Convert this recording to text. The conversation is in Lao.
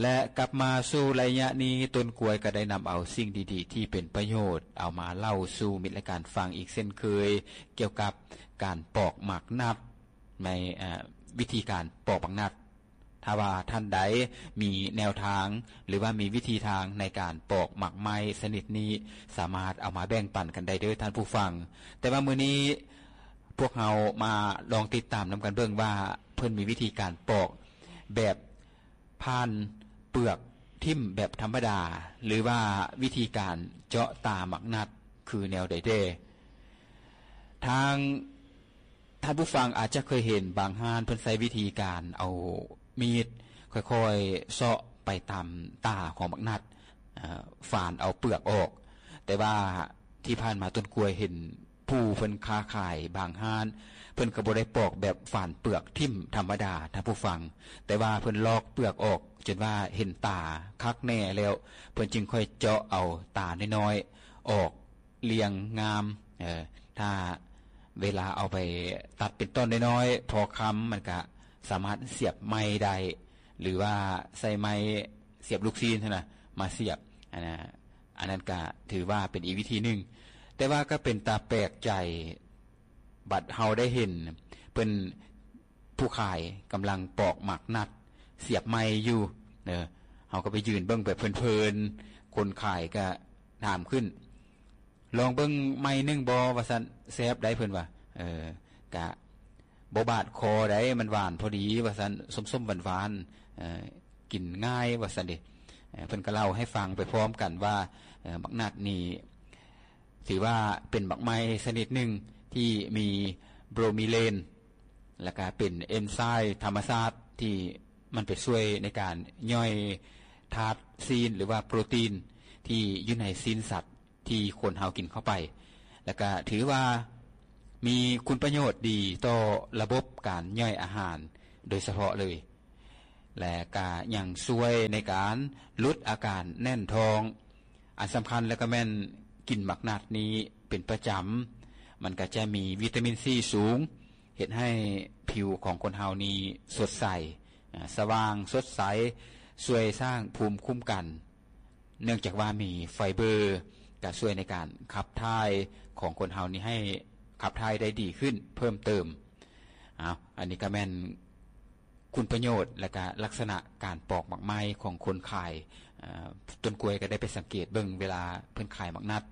ແລະ ກັບມາສູ່ໄລຍະນີ້ ຕົ້ນກ້ວຍກໍໄດ້ນຳເອົາສິ່ງດີໆທີ່ເປັນປະໂຫຍດ ເອົາມາເລົ່າສູ່ມິດລາຍການຟັງອີກເຊັ່ນເຄີຍ ກ່ຽວກັບການປອກໝາກນັດ ໃນ ເອີ ວິທີການປອກໝາກນັດ. ຖ້າວ່າທ່ານໃດມີແນວທາງ ຫຼືວ່າມີວິທີທາງໃນການປອກໝາກໄມ້ຊະນິດນີ້ ສາມາດເອົາມາແບ່ງປັນກັນໄດ້ເດີ້ທ່ານຜູ້ຟັງ. ແຕ່ວ່າມື້ນີ້ພວກເຮົາມາລອງຕິດຕາມນຳກັນເບິ່ງວ່າ ເພິ່ນມີວິທີການປອກແບບຜ່ານເປືອກຖິ້ມແບບທຳມະດາ ຫຼືວ່າວິທີການເຈາະຕາໝາກນັດຄືແນວໃດແດ່. ທາງ ທ່ານຜູ້ຟັງອາດຈະເຄີຍເຫັນບາງຮ້ານເພິ່ນໃຊ້ວິທີການເອົາມີດຄ່ອຍໆເຊາະໄປຕາມຕາຂອງໝາກນັດ ເອີ ຝານເອົາເປືອກອອກ. ແຕ່ວ່າທີ່ຜ່ານມາຕົ້ນກ້ວຍເຫັນຜູ້ເພິ່ນຄ້າຂາຍບາງຮ້ານ ເພິ່ນກໍບໍ່ໄດ້ປອກແບບຝານເປືອກຖິ້ມທຳມະດາທ່ານຜູ້ຟັງ, ແຕ່ວ່າເພິ່ນລອກເປືອກອອກຈົນວ່າເຫັນຕາຄັກແນ່ແລ້ວ ເພິ່ນຈຶ່ງຄ່ອຍເຈາະເອົາຕານ້ອຍໆອອກ ລຽງງາມ. ເອີ ຖ້າເວລາເອົາໄປຕັດເປັນທ່ອນນ້ອຍໆ ພໍຄຳ ມັນກະສາມາດສຽບໄມ້ໄດ້ ຫຼືວ່າໃຊ້ໄມ້ສຽບລູກຊີ້ນຫັ້ນນະ ມາສຽບ. ອັນນະ ອັນນັ້ນກະຖືວ່າເປັນອີກວິທີໜຶ່ງ. ແຕ່ວ່າກໍເປັນຕາແປກໃຈ ບັດເຮົາໄດ້ເຫັນເພິ່ນ ຜູ້ຂາຍກຳລັງປອກໝາກນັດ ສຽບໄມ້ຢູ່. ເອີ ເຮົາກໍໄປຢືນເບິ່ງແບບເພີນໆ ຄົນຂາຍກໍຖາມຂຶ້ນ ລອງເບິ່ງໄມ້ໜຶ່ງບໍ່ ວ່າຊັ້ນ. ແຊບໄດ໋ ເພິ່ນວ່າ. ເອີ ກະບໍ່ບາດຄໍໃດ໋ ມັນຫວານພໍດີ ວ່າຊັ້ນ, ສົ້ມໆຫວານໆ ເອີ ກິນງ່າຍ ວ່າຊັ້ນເດ. ເອີ ເພິ່ນກໍເລົ່າໃຫ້ຟັງໄປພ້ອມກັນວ່າ ເອີ ໝາກນັດນີ້ ຖືວ່າເປັນໝາກໄມ້ຊະນິດໜຶ່ງທີ່ມີໂບຣມີເລນ ແລ້ວກະເປັນເອັນໄຊມ໌ທຳມະຊາດທີ່ມັນໄປຊ່ວຍໃນການຍ່ອຍທາດຊີ້ນ ຫຼືວ່າໂປຣຕີນທີ່ຢູ່ໃນຊີ້ນສັດທີ່ຄົນເຮົາກິນເຂົ້າໄປ, ແລ້ວກະຖືວ່າມີຄຸນປະໂຫຍດດີຕໍ່ລະບົບການຍ່ອຍອາຫານໂດຍສະເພາະເລີຍ. ແລະກະຍັງຊ່ວຍໃນການຫຼຸດອາການແໜ້ນທ້ອງ. ອັນສຳຄັນແລ້ວກໍແມ່ນກິນໝາກນັດນີ້ເປັນປະຈຳ, ມັນກໍຈະມີວິຕາມິນຊີສູງ, ເຮັດໃຫ້ຜິວຂອງຄົນເຮົານີ້ສົດໃສ, ອາ, ສະຫວ່າງສົດໃສ, ຊ່ວຍສ້າງພູມຄຸ້ມກັນ, ເນື່ອງຈາກວ່າມີໄຟເບີ ກໍຊ່ວຍໃນການຂັບຖ່າຍຂອງຄົນເຮົານີ້ໃຫ້ຂັບຖ່າຍໄດ້ດີຂຶ້ນເພີ່ມເຕີມ. ເອົາ, ອັນນີ້ກໍແມ່ນ ຄຸນປະໂຫຍດ ແລະກະລັກສະນະການປອກໝາກໄມ້ຂອງຄົນຂາຍ. ເອີ ຕົ້ນກ້ວຍກໍໄດ້ໄປສັງເກດເບິ່ງເວລາເພິ່ນຂາຍໝາກນັດ,